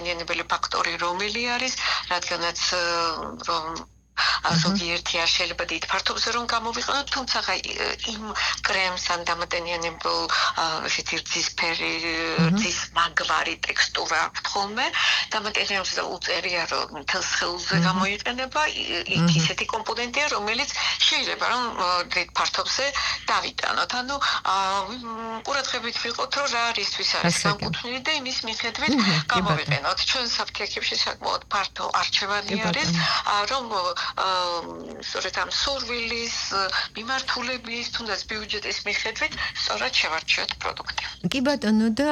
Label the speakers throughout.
Speaker 1: დამატებითი ფაქტორი რომელი არის, რადგანაც რომ ზოგიერთი არ შეიძლება დიდ ფართობზე რომ გამოვიყენოთ, თუმცა იმ კრემს ან დამატენიანებელ ესეთი რძისფერი, რძის მაგვარი ტექსტურა აქვს ხოლმე, დამატენიანებს და უწერია რომ მთელს ხელზე გამოიყენება, იქ ისეთი კომპონენტია, რომელიც შეიძლება რომ დიდ ფართობზე დავიტანოთ. ანუ ყურადღებით ვიყოთ, რომ რა არისთვის არის განკუთვნილი და იმის მიხედვით გამოვიყენოთ. ჩვენ საფთიაქებში საკმაოდ ფართო არჩევანი არის, რომ სწორედ ამ სურვილის, მიმართულების, თუნდაც ბიუჯეტის მიხედვით სწორად შევარჩიოთ პროდუქტი.
Speaker 2: კი ბატონო და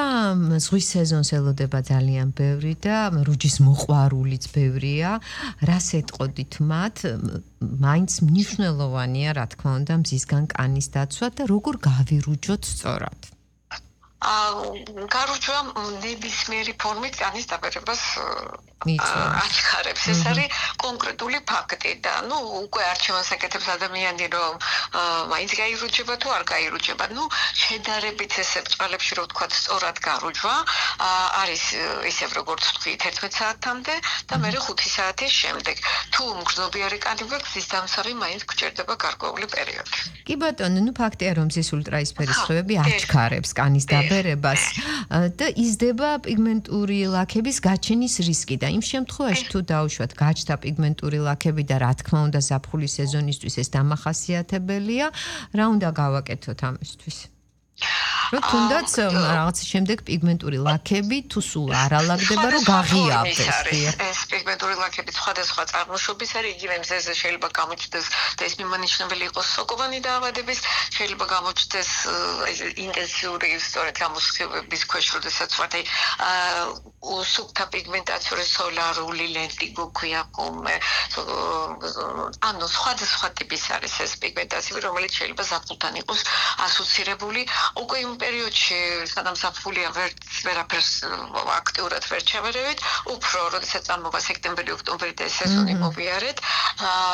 Speaker 2: ზღვის სეზონს ელოდება ძალიან ბევრი და რუჯის მოყვარულიც ბევრია. რას ეტყოდით მათ? მაინც მნიშვნელოვანია, რა თქმა უნდა, მზისგან კანის დაცვა და როგორ გავირუჯოთ სწორად?
Speaker 1: გარუჯვა ნებისმიერი ფორმით კანის დაბერებას აჩქარებს. ეს არის კონკრეტული ფაქტი და უკვე არჩევანს აკეთებს ადამიანი, რომ მაინც გაირუჯება თუ არ გაირუჯება. შედარებით ესე ბრწყალებში რო ვთქვათ, სწორად გარუჯვა არის ისევ როგორც ვთქვი 11 საათამდე და მერე 5 საათის შემდეგ. თუ მგრძნობიარე კანი გვაქვს, ის დამსავი მაინც გჭირდება გარკვეული პერიოდი.
Speaker 2: კი ბატონო, ფაქტია რომ მზის ულტრაისფერი სხივები აჩქარებს კანის დაბერებას და იზრდება პიგმენტური ლაქების გაჩენის რისკი და იმ შემთხვევაში თუ დაუშვათ გაჩნდა პიგმენტური ლაქები და რა თქმა უნდა ზაფხულის სეზონისთვის ეს დამახასიათებელია, რა უნდა გავაკეთოთ ამისთვის? რომ თუნდაც რაღაც შემდეგ პიგმენტური ლაქები თუ სულ არ ალაგდება, რომ გაღიავდეს.
Speaker 1: ეს პიგმენტური ლაქები სხვადასხვა წარმოშობის არის, იგივე მზეზე შეიძლება გამოჩნდეს და ეს მიმანიშნებელი იყოს სოკოვანი დაავადების, შეიძლება გამოჩნდეს ინტენსიური სწორედ გამოსხივების ქვეშ, როდესაც ვართ სუფთა პიგმენტაციური სოლარული ლენტი გვქვია ხოლმე. ანუ სხვადასხვა ტიპის არის ეს პიგმენტაცია, რომელიც შეიძლება ზაფხულთან იყოს ასოცირებული. უკვე იმ პერიოდში, სადაც საფულია ვერაფერს აქტიურად ვერ ჩავერევით, უფრო როდესაც წამოვა სექტემბერი, ოქტომბერი და სეზონი მოვიარეთ,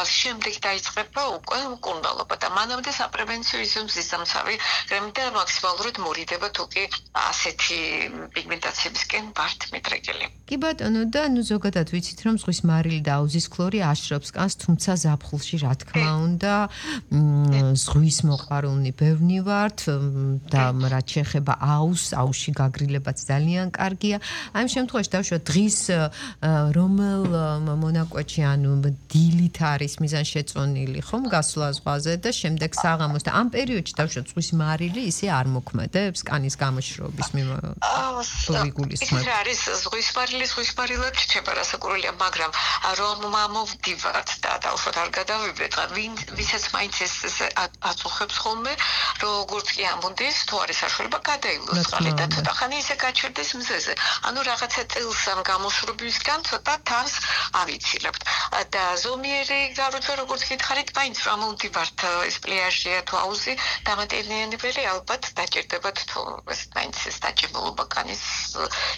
Speaker 1: შემდეგ დაიწყება უკვე მკურნალობა და მანამდე საპრევენციო მზის დამცავი კრემი და მაქსიმალურად მორიდება თუ კი ასეთი პიგმენტაციებისკენ ვართ მიდრეკილი.
Speaker 2: კი ბატონო და ზოგადად ვიცით რომ ზღვის მარილი და აუზის ქლორი აშრობს კანს, თუმცა ზაფხულში რა თქმა უნდა ზღვის მოყვარულნი ბევრნი ვართ და რაც შეეხება აუზში გაგრილებაც ძალიან კარგია. ამ შემთხვევაში დავუშვათ დღის რომელ მონაკვეთში ანუ დილით არის მიზანშეწონილი ხომ გასვლა ზღვაზე და შემდეგ საღამოს და ამ პერიოდში დავუშვათ ზღვის მარილი ისე არ მოქმედებს კანის გამოშრობის
Speaker 1: ის არის ზღვის მარილად რჩება რასაკურველია, მაგრამ რომ მოვდივართ და დავუშვათ არ გადავიბრეთ, ვისაც მაინც ეს აწუხებს ხოლმე, როგორც კი ამბობდეს, თუ არის საშუალება გადაილოს წყალი და ცოტა ხანი ისე გაჩერდეს მზეზე. ანუ რაღაცა წელს ამ გამოშრობისგან ცოტა თავს ავიცილებთ. და ზომიერი გარუჯვა როგორც გითხარით, მაინც რომ მოვდივართ ეს პლიაჟია თუ აუზი, დამატებითი ალბათ დაჭირდებათ თუ ეს მაინც ეს დაჭიმულობა კანის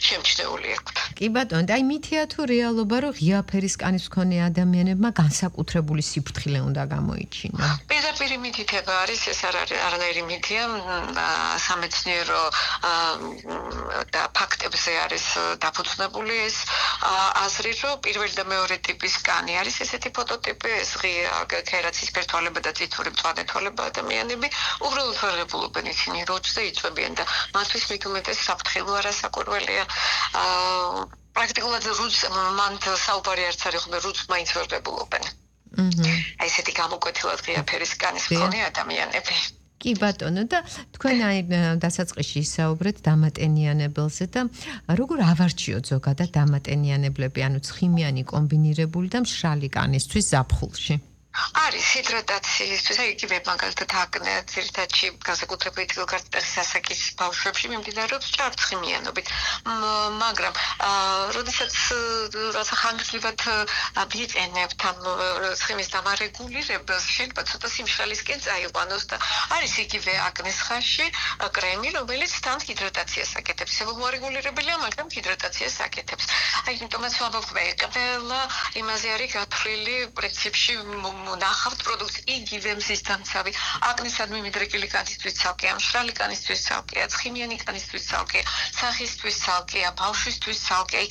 Speaker 1: შემჩნეული აქვთ.
Speaker 2: კი ბატონო, და მითია თუ რეალობა, რომ ღია ფერის კანის მქონე ადამიანებმა განსაკუთრებული სიფრთხილე უნდა გამოიჩინონ?
Speaker 1: პირდაპირ მითითება არის, ეს არანაირი მითია, სამეცნიერო და ფაქტებზე არის დაფუძნებული ეს აზრი, რომ პირველი და მეორე ტიპის კანი არის ესეთი ფოტოტიპი, ეს ღია ქერაცისფერ თვალება და წითური მწვანე თვალება ადამიანები, უბრალოდ ვერგებულობენ ისინი როჭზე იწვევიან და მათთვის მიგმეტეს საფრთხილო არასაკურველია. პრაქტიკულად რუჯს მან საუბარი არც არის, ხოლმე რუჯს მაინც ვერგებულობენ. ესეთი გამოკვეთილად ღია ფერის კანის მქონე ადამიანები.
Speaker 2: კი ბატონო და თქვენ დასაწყისში ისაუბრეთ დამატენიანებელზე და როგორ ავარჩიოთ ზოგადად დამატენიანებლები, ანუ ცხიმიანი კომბინირებული და მშრალი კანისთვის ზაფხულში?
Speaker 1: არის ჰიდრატაციისთვის, იგივე მაგალითად აკნე ძირითადში განსაკუთრებით გარტეხის ასაკის ბავშვებში მიმდინარეობს ჭარბცხიმიანობით, მაგრამ როდესაც რაცა ხანგრძლივად ვიყენებთ ამ ცხიმის დამარეგულირებას, შეიძლება ცოტა სიმშრალისკენ წაიყვანოს და არის იგივე აკნეს ხანში კრემი, რომელიც თან ჰიდრატაციას აკეთებს. მორეგულირებელია, მაგრამ ჰიდრატაციას აკეთებს. ამიტომაც ვამბობ, ყველა იმაზე არის გათვლილი პრინციპში ნახავთ პროდუქტს იგივე მზის დამცავი, აკნისადმი მიდრეკილი კანისთვის ცალკეა, მშრალი კანისთვის ცალკეა, ცხიმიანი კანისთვის ცალკეა, სახისთვის ცალკეა, ბავშვისთვის ცალკეა,